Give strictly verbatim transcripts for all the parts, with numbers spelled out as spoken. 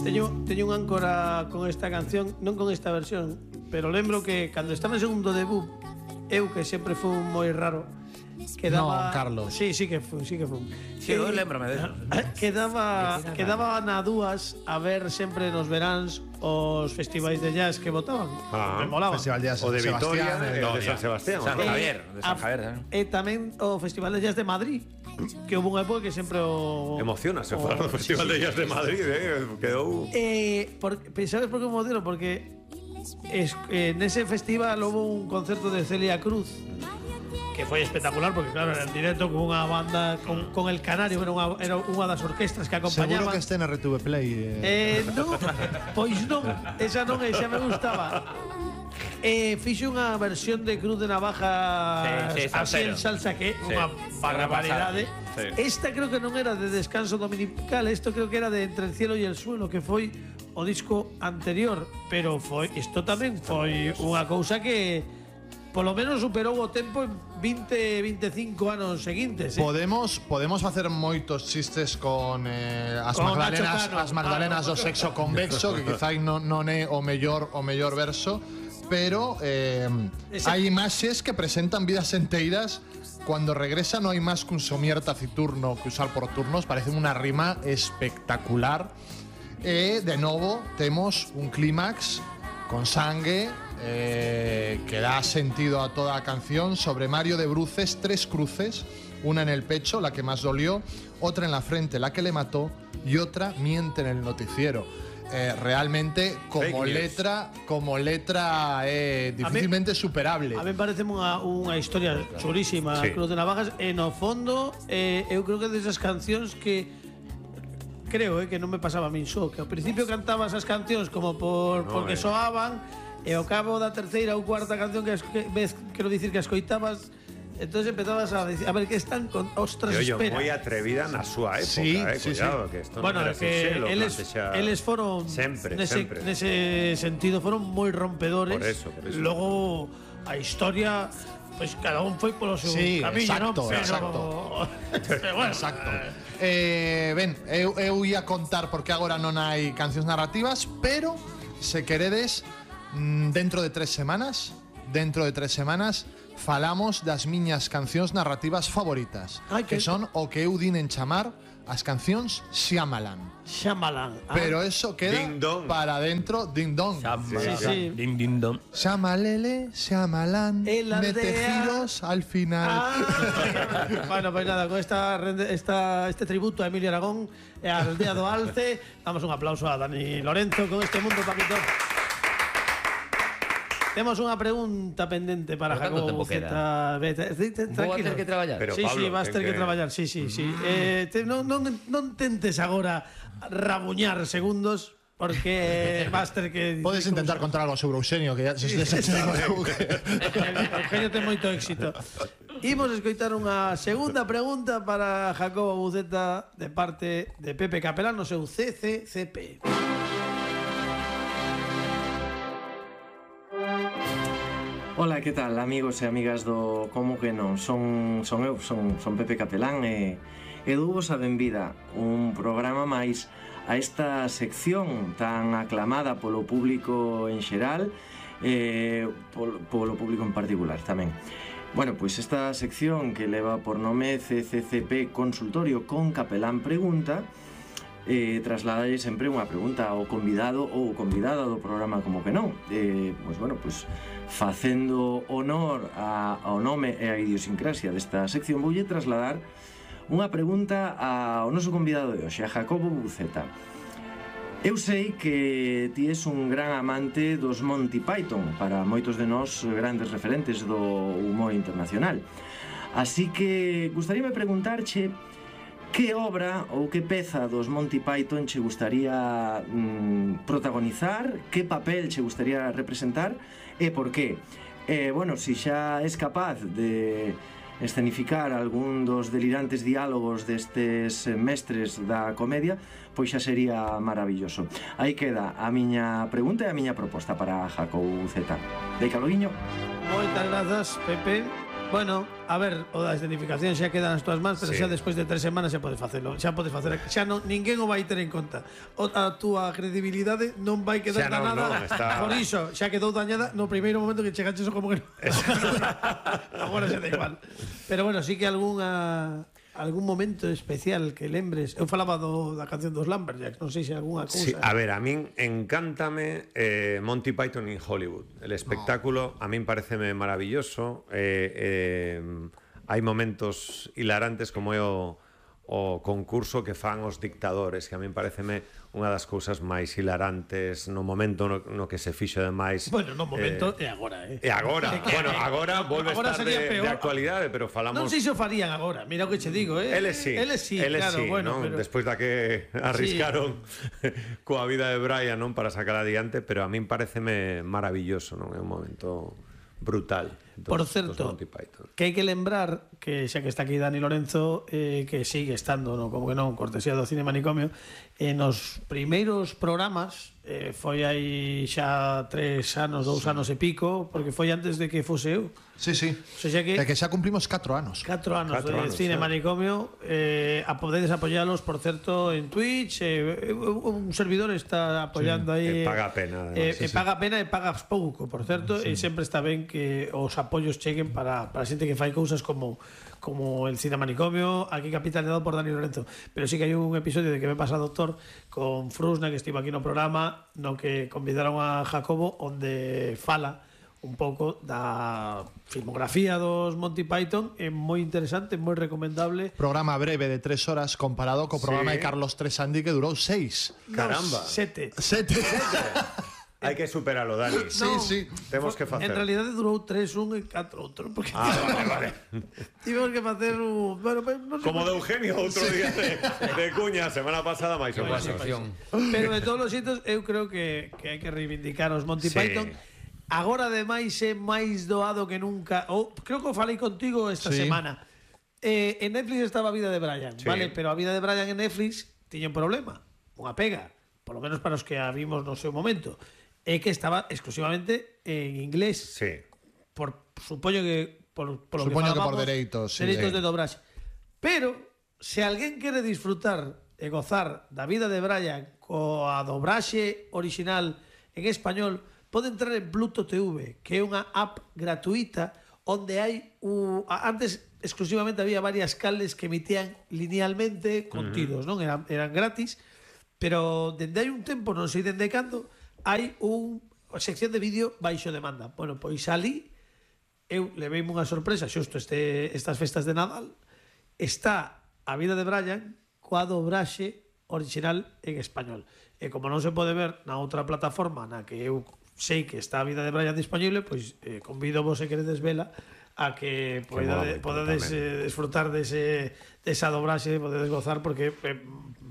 Teño, teño un áncora con esta canción, non con esta versión, pero lembro que cando estaba en segundo debut, eu que sempre fui moi raro, quedaba... No, Carlos. Sí, sí que fui, sí que fui. Sí, eu lembrame de eso. Quedaba, quedaba na dúas a ver sempre nos veráns os festivais de jazz que votaban. Ah, me molaba. Festival de Jazz O de San Vitoria Sebastián, e o de San Sebastián. San ¿no? Javier, de San a- Javier, tamén. E tamén o Festival de Jazz de Madrid, que houve unha época que sempre o... Emociona, se o- fala do Festival de Jazz de Madrid, eh, quedou... Eh, por, ¿sabes por qué me emociono? Porque es, eh, nese festival hubo un concerto de Celia Cruz que foi espectacular, porque claro, era en directo con unha banda, con, con El Canario, era unha, era unha das orquestas que acompañaban. Seguro que este en R T V Play. Eh, Eh. non, pois non, esa non, esa me gustaba. Eh, fixe unha versión de Cruz de Navaja Sí, sí, así en salsero. salsa que é Sí, unha barbaridade. sí. Esta creo que non era de Descanso Dominical, esto creo que era de Entre el cielo y el suelo, que foi o disco anterior, pero foi isto tamén foi unha cousa que polo menos superou o tempo en vinte, veinticinco anos seguintes, eh? Podemos podemos facer moitos chistes con eh, as Con Magdalenas, Nacho Cano. as Magdalenas Ah, do no. sexo convexo, que quizá non, non é o mellor o mellor verso, pero eh, Ese- hai imaxes que presentan vidas enteiras. Cuando regresa no hai máis que un somier taciturno que usar por turnos, parece unha rima espectacular. E de novo temos un clímax con sangue eh, que da sentido a toda a canción. Sobre Mario de Bruces, tres cruces, una en el pecho, la que más dolió, otra en la frente, la que le mató, y otra miente en el noticiero. Eh, realmente como Fake news. letra como letra eh, difícilmente superable. A mí me parece unha, unha historia chulísima, Sí. Cruz de Navajas, e no fondo eh, eu creo que desas cancións que creo eh, que non me pasaba a min só, que ao principio cantaba esas cancións como por No, porque eh. soaban, e ao cabo da terceira ou cuarta canción que, as- que ves, quero dicir que escoitabas, entonces empezabas a decir, a ver que están con ostras, E oye, espera. moi atrevida na súa época, Sí, eh, sí, cuidado, que esto Bueno, non é era que sinxelo, eles, plantexar- eles foron sempre, nese, sempre. nese sentido foron moi rompedores. Por eso, por eso. Logo a historia, pois pues, cada un foi polo seu Sí, camiño, exacto, ¿no? Pero, exacto. pero bueno, Exacto. Eh, ben, eu, eu ia contar porque agora non hai cancións narrativas, pero se queredes, mm, dentro de tres semanas, dentro de tres semanas, falamos das miñas cancións narrativas favoritas, Ai, que que- son o que eu din en chamar as cancións Shyamalan. Shyamalan. Ah, Pero eso queda Ding dong. para dentro, ding dong. sí, sí. Din, din, don. Shamalele, Shyamalan, En la mete aldea. giros al final. Ah, bueno, pues nada, con esta, rende- esta, este tributo a Emilio Aragón e a Aldea do Alce, damos un aplauso a Dani Lorenzo con este mundo, Paquito. Temos unha pregunta pendente para Pero canto Jacobo tempo Buceta. Vete, vete, Vou a tranquilo. ter que traballar. Pero, sí, Pablo, sí, vas ten ter que, que- traballar, sí, sí, sí. Eh, te, non, non, non tentes agora rabuñar segundos porque vas ter que... Podes intentar contar algo sobre Eugenio, que ya se, se, se, se, Eugenio ten moito éxito. Imos escoitar unha segunda pregunta para Jacobo Buceta de parte de Pepe Capelán no seu C C C P. Ola, que tal, amigos e amigas do Como que non? Son, son eu, son, son Pepe Capelán e, e douvos a benvida un programa máis a esta sección tan aclamada polo público en xeral e polo, polo público en particular tamén. Bueno, pois esta sección que leva por nome C C C P Consultorio con Capelán Pregunta eh, trasladalle sempre unha pregunta ao convidado ou convidada do programa Como que non. Eh, pois bueno, pois facendo honor a, ao nome e a idiosincrasia desta sección, voulle trasladar unha pregunta ao noso convidado de hoxe, a Jacobo Buceta. Eu sei que ti és un gran amante dos Monty Python, para moitos de nós grandes referentes do humor internacional. Así que gustaríame preguntarche que obra ou que peza dos Monty Python che gustaría mm, protagonizar, que papel che gustaría representar e por qué. E, bueno, si xa és capaz de escenificar algún dos delirantes diálogos destes mestres da comedia, pois xa sería maravilloso. Aí queda a miña pregunta e a miña proposta para Jacobo Buceta. De Caloguiño. Moitas grazas, Pepe. Bueno, a ver, o da escenificación xa queda nas túas mans, pero Sí. xa despois de tres semanas xa podes facelo. Xa podes facer, xa non, ninguén o vai ter en conta. O, a túa credibilidade non vai quedar Xa non, danada. non, está- Por iso, xa quedou dañada no primeiro momento que chegaches como que non. Agora xa da igual. Pero bueno, sí que algunha algún momento especial que lembres. Eu falaba do, da canción dos Lumberjacks, non sei se algunha cousa. Sí, a ver, a min encántame eh, Monty Python in Hollywood. El espectáculo a min pareceme maravilloso. Eh, eh, hai momentos hilarantes como é o, o concurso que fan os dictadores, que a min pareceme unha das cousas máis hilarantes no momento no, no que se fixo demais. Bueno, no momento e agora, eh. E agora, bueno, agora volve a Agora estar sería de, peor. de actualidade, pero falamos... Non sei se o farían agora, mira o que che digo, eh. Eles sí, Eles sí, eles claro, sí, bueno, non? pero... Despois da que arriscaron coa vida de Brian, non, para sacar adiante, pero a min pareceme maravilloso, non? É un momento brutal. Dos, Por dos certo, Monty Python. que hai que lembrar que xa que está aquí Dani Lorenzo, eh, que sigue estando, no, como que non, cortesía do Cine Manicomio, eh, nos primeiros programas, eh, foi aí xa tres anos, dous anos e pico, porque foi antes de que fose eu. Sí, sí. O sea, que É que xa cumplimos catro anos. catro anos Catro de anos, Cine eh. Manicomio, eh, a podedes apoyalos, por certo, en Twitch, eh, un servidor está apoyando aí, E paga a pena, eh, además, e paga a pena e pagas pouco, por certo, e sempre está ben que os apoios cheguen para, para a xente que fai cousas como como el Cine Manicomio, aquí capitaneado por Dani Lorenzo. Pero sí que hai un episodio de Que me pasa doctor con Frusna, que estivo aquí no programa, no que convidaron a Jacobo, onde fala un pouco da filmografía dos Monty Python. É moi interesante, moi recomendable. Programa breve de tres horas comparado co programa Sí. de Carlos Tresandi que durou seis. Caramba. Nos sete. Sete. Hai que superalo, Dani. Sí, No, sí. Temos que facer. En realidade durou tres, un e catro outro, porque Ah, vale, vale. tivemos que facer un... Bueno, pues, non sei Como de Eugenio, outro día de, de Cuña, semana pasada, máis ou menos. Pero de todos os xeitos, eu creo que, que hai que reivindicar os Monty Sí. Python. Agora, ademais, é máis doado que nunca. Ou, creo que o falei contigo esta Sí. semana. Eh, en Netflix estaba a vida de Brian, Sí. vale? Pero a vida de Brian en Netflix tiña un problema, unha pega, por lo menos para os que a vimos no seu momento. É que estaba exclusivamente en inglés. Sí. Por supoño que por, por lo Supoño que, que por falábamos, dereitos, sí, dereitos eh. de dobraxe. Pero se alguén quere disfrutar e gozar da vida de Brian coa dobraxe original en español, pode entrar en Pluto T V, que é unha app gratuita onde hai u, antes exclusivamente había varias canles que emitían linealmente contidos, non? Eran, eran gratis, pero dende hai un tempo, non sei dende cando, hai un sección de vídeo baixo demanda. Bueno, pois ali eu leveime unha sorpresa xusto este, estas festas de Nadal. Está a vida de Brian coa dobraxe original en español. E como non se pode ver na outra plataforma na que eu sei que está a vida de Brian disponible, pois eh, convido vos se queredes vela a que mola podades, moito podades tamén. eh, disfrutar dese, desa dobraxe, podedes gozar porque eh,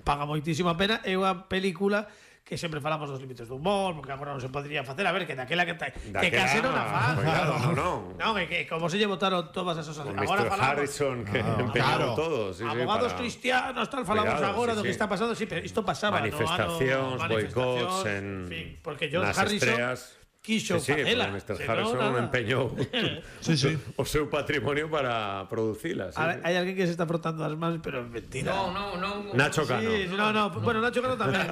paga moitísima pena. É unha película que sempre falamos dos límites do humor, porque agora non se podría facer, a ver, que daquela que, ta, que Daquela, case non a fan. cuidado, non. Non, é que como se lle botaron todas esas Con cosas. mister Agora falamos Harrison, que Ah, empeñaron claro. todo. Sí, sí, abogados para- cristianos, tal, falamos Cuidado, agora sí, do que sí. está pasando, sí, pero isto pasaba Manifestacións, no, ano, boicots en en- fin, porque George nas Harrison estreas. quiso Sí, sí, facela. pero mister se Harrison non, nada. empeñou Sí, sí. o seu patrimonio para producilas. A ver, hai alguén que se está frotando as mans, pero é mentira. No, no, no. Nacho Cano. Sí, no, no, bueno, Nacho Cano tamén.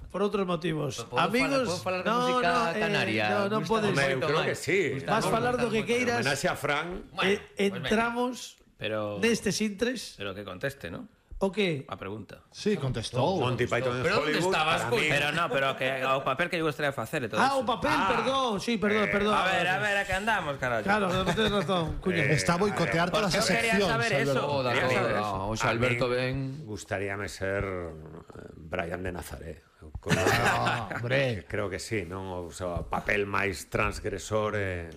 Por outros motivos. Podo Amigos, falar- podo falar de no, música no, eh, canaria? no, non Gusta podes. Home, eu moito creo máis. que sí. Gusta Vas moito, falar do gusta que moito. queiras. Homenaxe a Fran. Bueno, Eh, pues venga. entramos Pero nestes intres. pero que conteste, ¿no? O que? A pregunta. Sí, contestou. Monty Python en Pero onde Hollywood. estabas, para coño? mí- Pero no, pero que o papel que lle gustaría facer e todo Ah, eso. o papel, Ah. perdón. Sí, perdón, Eh, perdón. A ver, a ver, a que andamos, carallo. Claro, no tienes razón, cuño. Eh, Está a boicotear Porque todas as eu quería seccións. saber Alberto. eso. Toda, Quería saber toda. eso. O sea, Alberto A mí ben... Gustaríame ser eh, Brian de Nazaret. Eu creo- Ah, hombre. Creo que sí, non? O sea, papel máis transgresor eh,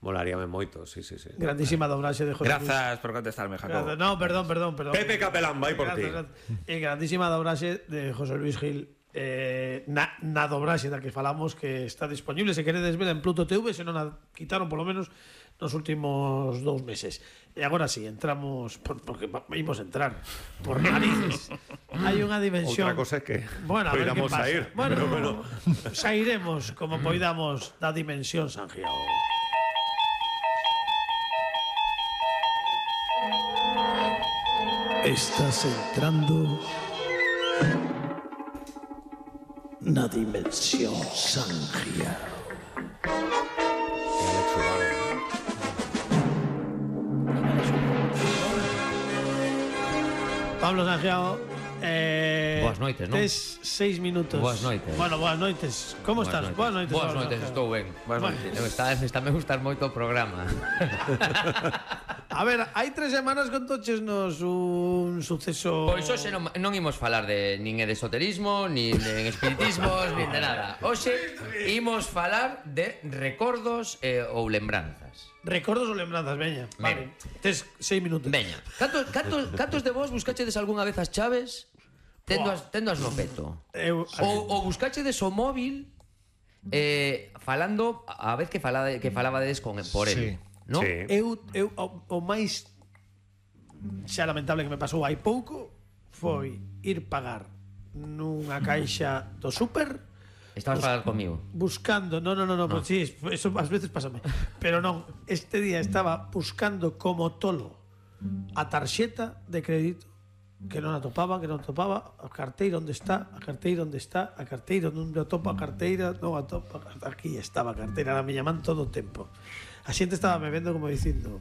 molaríame moito, sí, sí, sí. Grandísima dobraxe de José Luis. Grazas por contestarme, Jacobo. Gracias. No, perdón, perdón, perdón. Pepe Capelán, vai por ti. Gracias, gracias. E grandísima dobraxe de José Luis Gil, eh, na, na dobraxe da que falamos, que está disponible se queredes ver en Pluto T V, se non a quitaron polo menos nos últimos dous meses. E agora sí, entramos por, porque va- imos entrar por narices. Hai unha dimensión. Outra cosa é que Bueno, a ver que poidamos pasa. sair, Bueno, pero bueno. sairemos como poidamos da dimensión San Giao. Estás entrando na dimensión Sangia. Pablo Sangiao, eh, Boas noites, non? tes seis minutos. Boas noites. Bueno, boas noites. Como Boas estás? noites. Boas noites. Boas Pablo noites, Sangiao. estou ben. Boas Bueno. noites. Eu está, está me gustar moito o programa. A ver, hai tres semanas contoches nos un suceso... Pois hoxe non, non imos falar de nin de esoterismo, nin de espiritismos, nin de nada. Hoxe imos falar de recordos eh, ou lembranzas. Recordos ou lembranzas, veña. Vale. Tes seis minutos. Veña, cantos, cantos, cantos de vos buscachedes algunha vez as chaves tendo as, tendo as no peto? Eu, Ou, ou buscachedes o móvil eh, falando a vez que falaba que falabades con por Sí. él, ¿no? Sí. eu, eu o, o máis xa lamentable que me pasou hai pouco foi ir pagar nunha caixa do súper Estabas a falar comigo. buscando, no, no, no, no, pues sí, eso ás veces pásame, pero non, este día estaba buscando como tolo a tarxeta de crédito que non atopaba, que non atopaba, a carteira onde está, a carteira onde está, a carteira onde atopa a carteira, non atopa, aquí estaba a carteira, na miña man todo o tempo. A xente estaba me vendo como dicindo,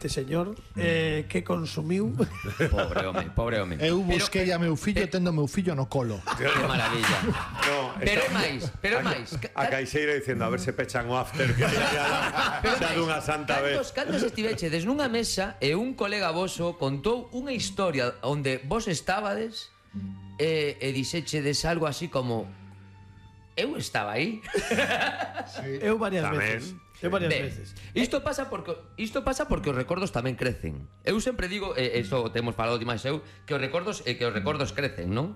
este señor eh, que consumiu. Pobre home, pobre home. Eu busquei a meu fillo tendo meu fillo no colo. Que maravilla. No, Pero é está- máis, pero é máis. A caixeira dicindo a ver se pechan o after que xa, Pero xa máis, dunha santa vez. Cantos, cantos estivechedes nunha mesa e un colega voso contou unha historia onde vos estabades e, e dixechedes algo así como eu estaba aí. Eu varias Tamén. veces. Eu varias Ben, veces. isto pasa porque isto pasa porque os recordos tamén crecen. Eu sempre digo, e eh, isto temos falado demais eu, que os recordos eh, que os recordos crecen, non?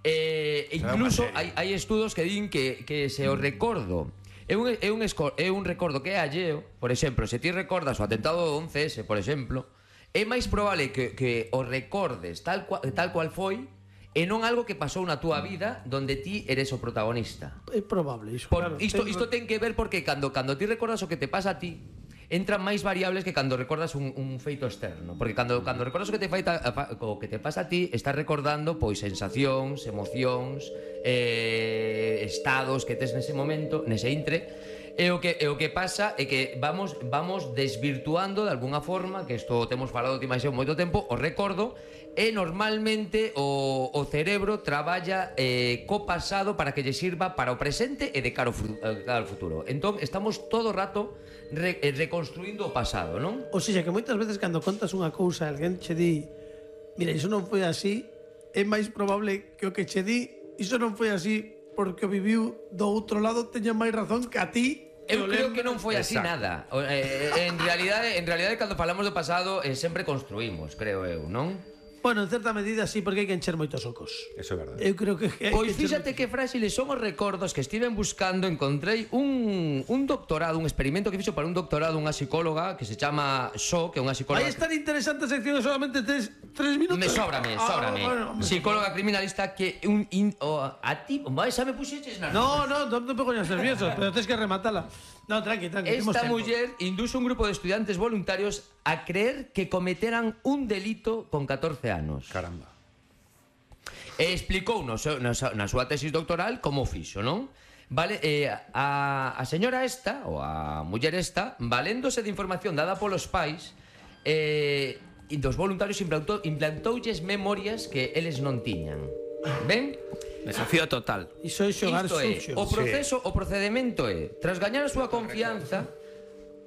Eh, incluso hai, hai estudos que din que, que se o recordo é un, é, un esco, é un recordo que é alleo, por exemplo, se ti recordas o atentado do once ese, por exemplo, é máis probable que, que o recordes tal cual, tal cual foi e non algo que pasou na túa vida donde ti eres o protagonista. É probable iso, Por, claro. isto, Ten- isto ten que ver porque cando, cando ti recordas o que te pasa a ti, entran máis variables que cando recordas un, un feito externo. Porque cando, cando recordas o que te faita, o que te pasa a ti, estás recordando pois sensacións, emocións, eh, estados que tes nese momento, nese intre. E o que e o que pasa é que vamos vamos desvirtuando de alguna forma, que isto temos falado ti máis eu moito tempo, o recordo, e normalmente o, o cerebro traballa eh, co pasado para que lle sirva para o presente e de cara ao, fu- eh, cara ao futuro. Entón estamos todo o rato re, eh, reconstruindo o pasado, non? O sea, que moitas veces cando contas unha cousa, alguén che di, mira, iso non foi así, é máis probable que o que che di, iso non foi así porque o viviu do outro lado teña máis razón que a ti. Eu o creo lembra. que non foi así Exacto. nada. O, eh, en realidade, en realidade cando falamos do pasado eh, sempre construímos, creo eu, non? Bueno, en certa medida sí, porque hai que encher moitos ocos. Eso é verdade. Eu creo que hai Pois que encher fíxate que frágiles son os recordos que estiven buscando. Encontrei un, un doctorado, un experimento que fixo para un doctorado unha psicóloga que se chama Sho, que é unha psicóloga Aí es tan interesante a sección, solamente tes tres minutos. Me sóbrame, Ah, sóbrame. bueno, hombre. Psicóloga criminalista que un in, o, a ti, vai, xa me puxeches na No, no, non te poñas nervioso, pero tens que rematala. No, tranqui, tranqui. temos Esta tempo. muller induce un grupo de estudiantes voluntarios a creer que cometeran un delito con catorce anos. Caramba. E explicou no seu, na, na súa tesis doctoral como fixo, non? Vale, eh, a, a señora esta, ou a muller esta, valéndose de información dada polos pais, eh, e dos voluntarios implantou, implantoulles memorias que eles non tiñan. Ben? Desafío total. Iso é xogar Isto é, sucio. o proceso, o procedimento é, tras gañar a súa confianza,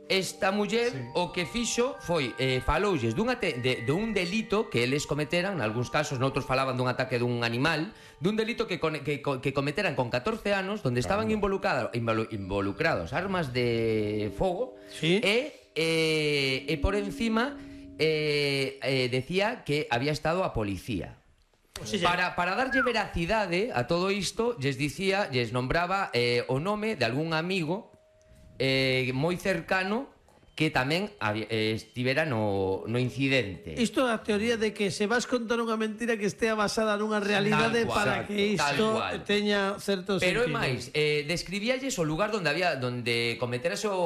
esta muller o que fixo foi eh, faloulles dun, ate, de, de un delito que eles cometeran, nalgúns casos, noutros falaban dun ataque dun animal, dun delito que, con, que, que cometeran con catorce anos, donde estaban involucrados, involu, involucrados armas de fogo, Sí. e, eh, e por encima eh, eh, decía que había estado a policía. O sea, Para, para darlle veracidade a todo isto, lles dicía, lles nombraba eh, o nome de algún amigo eh, moi cercano que tamén había, eh, estivera no, no incidente. Isto é a teoría de que se vas contar unha mentira que estea basada nunha realidade Tal cual, para exacto, que tal isto cual. teña certo Pero é sentido. máis, eh, describíalles o lugar donde había donde cometerase o,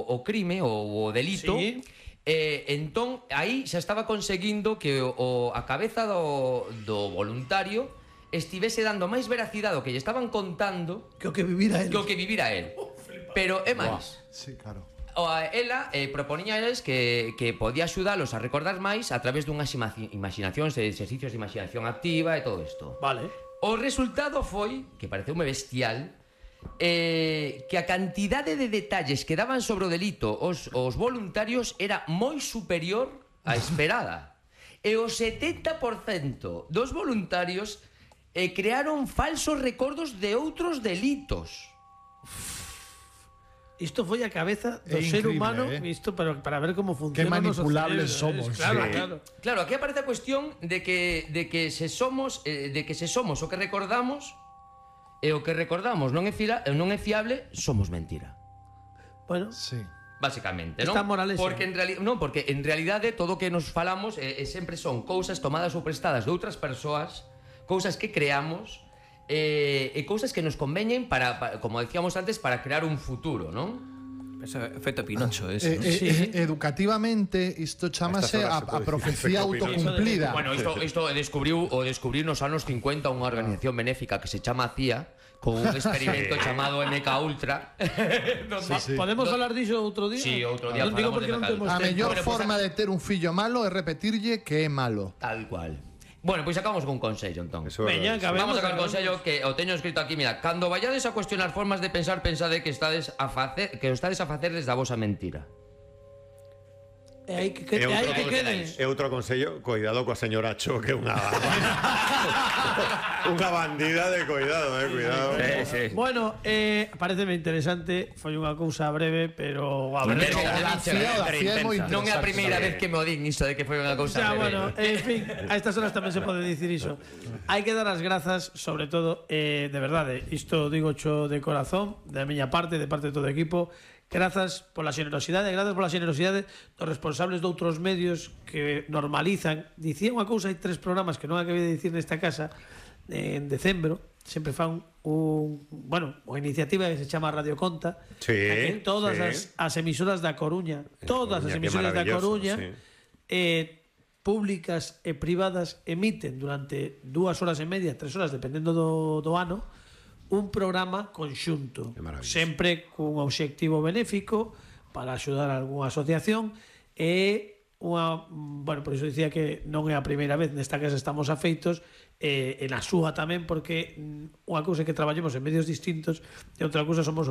o crime ou o delito. Sí. E entón, aí xa estaba conseguindo que o, o, a cabeza do, do voluntario estivese dando máis veracidade ao que lle estaban contando Que o que vivira él. que o que vivira él. Pero é máis. Sí, claro. O, ela eh, propoñía a eles que, que podía axudalos a recordar máis a través dunhas ima- imaginacións e exercicios de imaginación activa e todo isto. Vale. O resultado foi, que pareceume bestial, eh, que a cantidade de detalles que daban sobre o delito os, os voluntarios era moi superior á esperada. E o setenta por cento dos voluntarios eh, crearon falsos recordos de outros delitos. Isto foi a cabeza do É ser increíble, humano, eh? isto para, para ver como funciona Qué o noso manipulables cerebro, somos. eh. Claro, Sí. claro. Claro, aquí aparece a cuestión de que, de que se somos eh, de que se somos o que recordamos e o que recordamos non é, fila, non é fiable, somos mentira. Bueno, Sí. Básicamente, Esta non? moralexa. Porque en, reali non, porque en realidade todo o que nos falamos eh, eh, sempre son cousas tomadas ou prestadas de outras persoas, cousas que creamos eh, e cousas que nos conveñen para, para, como decíamos antes, para crear un futuro, non? Ese efecto Pinocho, Eh, ese. ¿no? eh, Sí. eh, educativamente, isto chamase A estas horas a, se a pode profecía dicir efecto autocumplida. Bueno, isto, isto descubriu o descubriu nos anos cincuenta unha organización benéfica que se chama C I A con un experimento chamado M K Ultra. Sí, sí. podemos falar diso outro día? Sí, outro día Non digo falamos porque de non Mecal. temos A tempo. mellor Bueno, pues, forma de ter un fillo malo é repetirlle que é malo. Tal cual. Bueno, pois acabamos con consello, entón. Eso é Veña, verdade, acabemos. Vamos a sacar acabemos. consello que o teño escrito aquí, mira, cando vayades a cuestionar formas de pensar, pensade que estades a facer que o estades a facer desde a vosa mentira. E hai que, que, E hai outro que quede. E outro consello, cuidado coa señora Cho, que é unha unha bandida de cuidado, eh, cuidado. Sí, sí. Bueno, eh, pareceme interesante, foi unha cousa breve, pero a ver, Pero- O da C I A, o da C I A é moi intensa. Non é a interesante. primeira vez que me o din isto de que foi unha O cousa sea, breve. bueno, en fin, a estas horas tamén se pode dicir iso. Hai que dar as grazas, sobre todo, eh, de verdade, isto digo cho de corazón, da miña parte, de parte de todo o equipo, grazas pola xenerosidade, grazas pola xenerosidade dos responsables de outros medios que normalizan. Dicía unha cousa, hai tres programas que non acabei de dicir nesta casa, en decembro, sempre fan un, bueno, unha iniciativa que se chama Radio Conta, Sí, que todas sí. as, as emisoras da Coruña, todas as Coruña, que emisoras da maravilloso, Coruña, sí. eh, públicas e privadas emiten durante dúas horas e media, tres horas, dependendo do, do ano, un programa conxunto, Que maravilloso. sempre cun obxectivo benéfico para axudar a algunha asociación e unha, bueno, por iso dicía que non é a primeira vez nesta casa estamos afeitos e, e na súa tamén, porque mm, unha cousa é que traballemos en medios distintos e outra cousa somos os